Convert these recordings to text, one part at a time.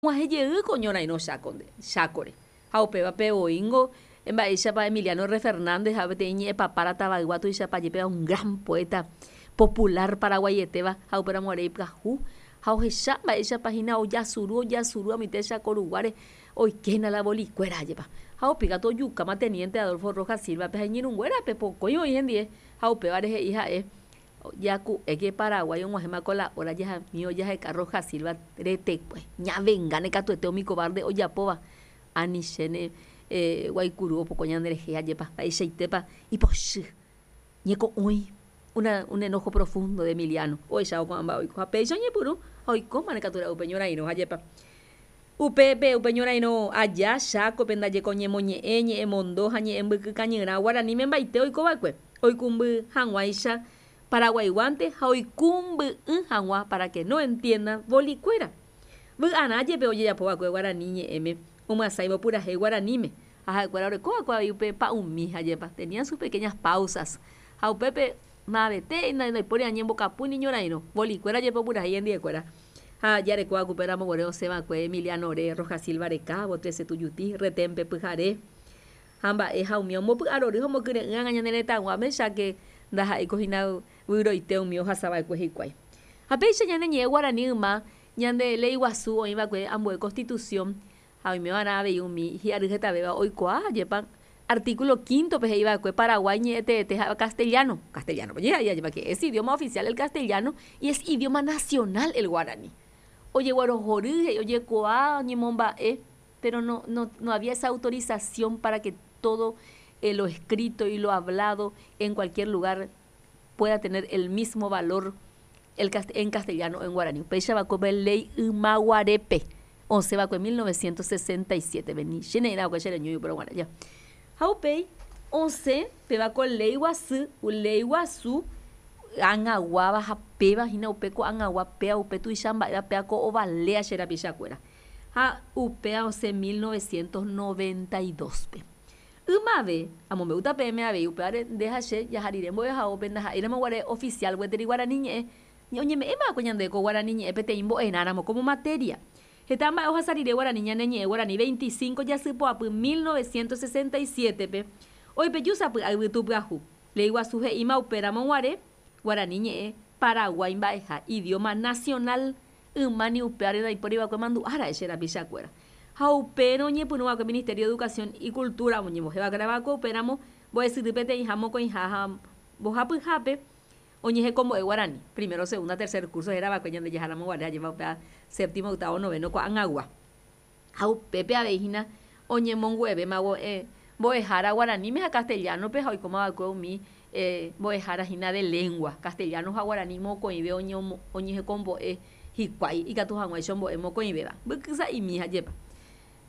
Og̃uahẽ jey ko ñorairõ Chákonde, Chákore. Ha upévape voíngo mba'éichapa Emiliano Erre Fernández ha'e peteĩ ñe'ẽpapára tavaygua tuichapa jepéva un gran poeta popular paraguaietéva ha upéramo guare ipyahu ha ohecha mba'éichapa hína ojasuru ojasuru amoite Cháko ruguáre oikéna la bolikuéra jepa. Ha upe katu ojukáma teniente Adolfo Rojas Silva-pe ha iñirũnguérape pokõi oĩ hendie ha upévare he'i ha'e Jaku'éke Paraguái og̃uahẽma ko la hora jahami ojaheka Rojas Silva retekue. Ñavengáne katuete umi cobarde ojapóva. Anichéne guaikuru opoko ñanderehe ajépa mba'eichaitépa ipochy. Ñeko'õi, una un enojo profundo de Emiliano ohechávo ko'ã mba'e oiko. Ha péicha oñepyrũ ha oikómane katu ra'e upe ñorairõ ajépa. Upépe upe ñorairõ aja Chákope ndajeko ñemoñe'ẽ, ñe'ẽmondo ha ñe'ẽmbyky kañyrã guaraníme mbaite oikova'ekue, oikũmby hag̃uáicha paraguaiguánte ha oikũmby'ỹ hag̃ua para que no entiendan bolikuéra. Vy'arã jepe ojejapova'ekue guarani ñe'ẽme omyasãivo purahéi guaraníme, ha ha'ekuéra orekova'ekue avei upe pa'ũmi ha jepa, tenían sus pequeñas pausas, ha upépe mavete ndaipóri añembokapu ni ñorairõ, bolikuéra jepe opurahéi hendiekuéra. Ha jareko akúpe ramo guare osẽ va'ekue Emiliano-re, Rojas Silva rekávo, Trece Tujuti, Retén-pe pyhare, ha mba'e ha umi ombopy'arory ha omokyre'ỹ ág̃a ñane retãguáme, cháke ndaha'éiko hína vyroite umi ohasa va'ekue hikuái. Ha péicha ñane ñe'ẽ guarani yma ñande léi guasu oĩ va'ekue ambue Constitución Ha oime va'erã avei umi hi'ary hetavéva oikuaa ajépa artículo quinto-pe he'i va'ekue Paraguái ñe'ẽ teete ha'éva castellano, castellano-pe ojeha'i ajépa que es idioma oficial el castellano y es idioma nacional el guaraní. Ojeguerohory he'i ojekuaa oñemomba'e pero no, no, no había esa autorización para que todo lo escrito y lo hablado en cualquier lugar pueda tener el mismo valor el en castellano o en guaraní. Upéicha va'ekue upe léi ymaguarépe osẽ va'ekue 1967 pe ni che ne'ĩra va'ekue che reñói upérõ guare ja. Ha upéi osẽ péva ko léi guasu, léi guasu ag̃aguáva ha péva hína upe ko'ag̃agua péva upe tuicha mba'éva péva ko ovalea che rapichakuéra. Ha upéva osẽ 1992-pe. Ymave, amombe'úta peẽme avei upévare nde ha che jaha rire mbo'ehaópe ndaha'éiramo guare oficial gueteri guarani ñe'ẽ, oñeme'ẽma va'ekue ñandéve ko guarani ñe'ẽ peteĩ mbo'erãramo como materia. Heta mba'e ohasa rire guarani ñane ñe'ẽ guarani 25 jasypoapy 1967-pe, oipeju sapy'a yvytu pyahu. Léi guasu he'íma upéramo guare guarani ñe'ẽ Paraguái mba'eha, idioma nacional, Yma ni upévare ndaipóri va'ekue mandu'a ra'e che rapichakuéra. Ha upérõ oñepyrũ va'ekue Ministerio de Educación y Cultura oñembohe va'ekue va'ekue upéramo mbo'esyry peteĩha mokõiha ha mbohapyhápe oñehekombo'e guarani, primero, segunda, tercer curso héra va'ekue ñande jaháramo guare ajépa upéva séptimo, octavo, noveno ko'ag̃agua. Ha upépe avei hína oñemongu'evéma mbo'ehára guaraníme ha castellano-pe ha oikóma va'ekue umi mbo'ehára hína de lengua, castellano ha guarani mokõive oñehekombo'e hikuái ikatu hag̃uáicha ombo'e mokõivéva. Mbyky sa'imi ha jepa.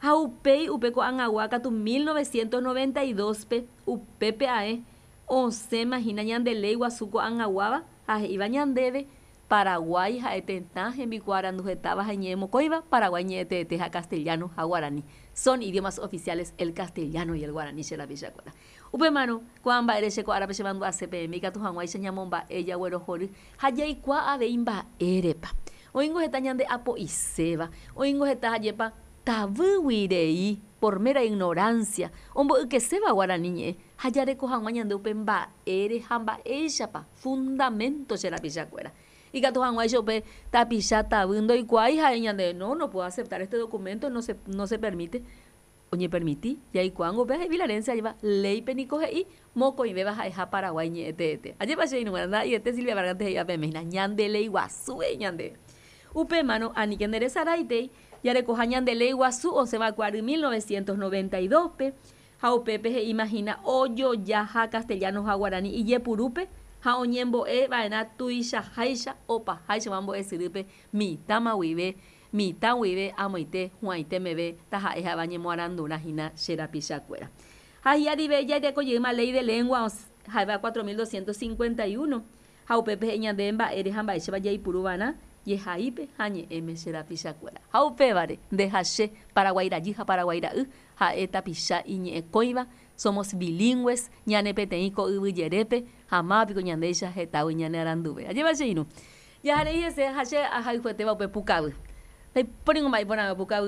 Ha upéi upe ko'ag̃agua katu 1992-pe upépe ae osẽma hína ñande léi guasu ko'ag̃aguáva ha he'íva ñandéve Paraguái ha'e tetã hembikuaaranduhetáva ha iñe'ẽ mokõiva, Paraguái ñe'ẽ teete ha castellano ha guarani. Son idiomas oficiales el castellano y el guaraní che rapichakuéra. Upémarõ, ko'ã mba'ére che ko árape chemandu'ase peẽme ikatu hag̃uáicha ñamomba'e, jaguerohory ha jaikuaa avei mba'érepa. Oĩngo heta ñande apo'iséva, oĩngo heta ajépa tavýgui rei, por mera ignorancia, ombo'ykeséva guarani ñe'ẽ ha jareko hag̃ua ñande upe mba'ére ha mba'éichapa. Fundamento che rapichakuéra. Ikatu hag̃uáicha upe tapicha tavy ndoikuaái ha'e ñande, no, no puedo aceptar este documento, no se, no se permite. Oñepermiti, jaikuaángo upéva he'i Vilarencia ajépa léipe niko he'i mokõivéva ha'eha Paraguái ñe'ẽ teete. Ajépa che irũnguéra, ndaha'eiete Silvia Vargas-nte he'íva peẽme hína, ñande léi guasu he'i ñandéve. Upémarõ, aníke nderesaráitei, jarekoha ñande léi guasu osẽva'ekue ary 1992-pe, Ha upépe he'íma hína ojojaha castellano ha guarani ijepurúpe ha oñembo'e va'erã tuichaháicha opaháichagua mbo'esyrýpe mitãma guive, mitã guive amoite hu'ãite meve taha'e ha'éva ñemoarandurã hína che rapichakuéra. Ha hi'arive jareko jeýma Ley de Lengua ha'éva 4251 Ha upépe he'i ñandéve mba'ére ha mba'éichapa jaipuru va'erã jehaípe ha ñe'ẽme che rapichakuéra. Ha upévare, nde ha che, Paraguái rajy ha Paraguái ra'y, ha'e tapicha iñe'ẽkõiva, somos bilingües, ñane peteĩ ko yvy jerépe, ha máva piko ñandéicha hetágui ñane aranduve. Ajépa che irũ. Jaharei hese ha che ahayhuetéva upe pukavy. Ndaipóringo mba'e iporãve opukavy.